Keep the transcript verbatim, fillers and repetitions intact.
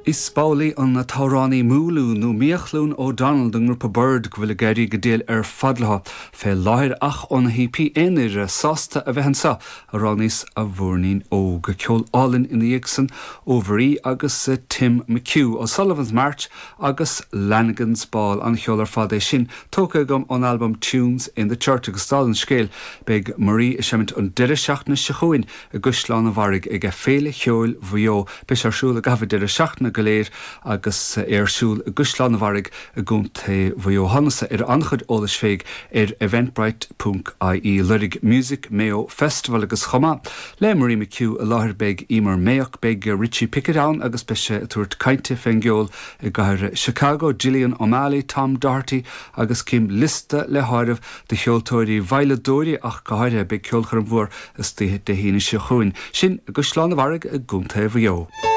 Is b'amhlaidh an t-amhránaí Mooloo nó Miachlún O'Donnell den ngrúpa Byrd go bhfuil ag éirí go diail ar fad leo fé láthair ach óna hípí aonair sásta a bheith anseo a roghnaíos a mhúirnín óg ceol álainn ina dhiaidh san ó Mharie agus Tim McHugh O'Sullivan's March agus Lanigan's Ball an cheol ar fad é sin tógtha agam ón albam Tunes in the Church agus dála an scéil beidh Marie ag seimint an deireadh seachtaine seo chugainn i gCaisleán an Bharraigh ag Féile Cheoil Mhaigh Eo beidh sé ar siúl i gcaitheamh deireadh seachtaine go léir agus ar siúl i gCaisleán an Bharraigh i gContae Mhaigh Eo Thánas ar an-chuid eolais féig ar eventbrite.ie lorg Music Mayo Festival agus chomh maith le Marie McHugh i láthair beidh Emer Mayock beidh Richie Pickett ann agus beidh sé ag tabhairt cainte fén gceol i gcathair Chicago, Gillian O'Malley, Tom Doherty agus cím liosta le háireamh de cheoltóirí veidhleadóirí ach go háirithe beidh ceolchoirm mhór istoíche Dé hAoine seo chugainn. Sin i gCaisleán an Bharraigh i gContae Mhaigh Eo.